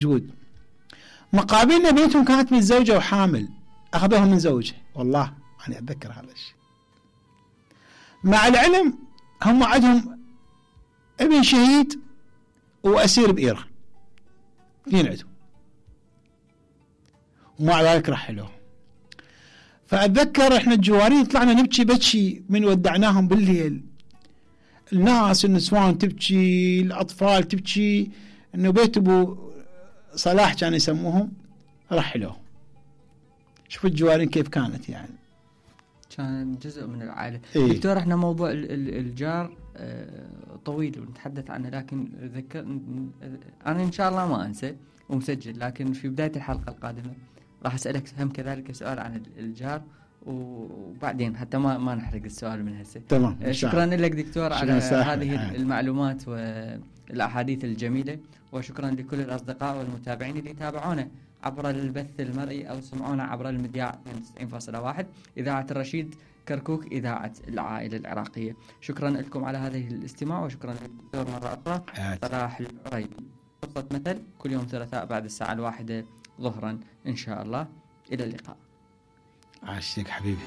موجود. مقابلنا بنتهم كانت متزوجة وحامل، أخذوها من زوجها، والله أنا أتذكر هذا الشيء. مع العلم هم عندهم ابن شهيد وأسير بإيران، اثنين عندهم، ومع ذلك رحلوه. فأتذكر إحنا الجوارين طلعنا نبكي بكي من ودعناهم بالليل، الناس النسوان تبكي، الأطفال تبكي، إنه بيت أبو صلاح كانوا يسموهم رحلوه. شوفوا الجوارين كيف كانت، يعني كان جزء من العائلة. إيه؟ دكتور احنا موضوع الجار طويل ونتحدث عنه، لكن أنا إن شاء الله ما أنسى ومسجل، لكن في بداية الحلقة القادمة راح أسألك هم كذلك سؤال عن الجار، وبعدين حتى ما نحرق السؤال من هسه. تمام. شكرا لك دكتور على هذه المعلومات والأحاديث الجميلة، وشكرا لكل الأصدقاء والمتابعين اللي تابعونا عبر البث المرئي أو سمعونا عبر المذياع 90.1 إذاعة الرشيد كركوك، إذاعة العائلة العراقية. شكرا لكم على هذه الاستماع، وشكرا للدكتور مرة أخرى صلاح العريبي. قصة مثل كل يوم ثلاثاء بعد الساعة 1 ظهرا إن شاء الله. إلى اللقاء. عاشقك حبيبي.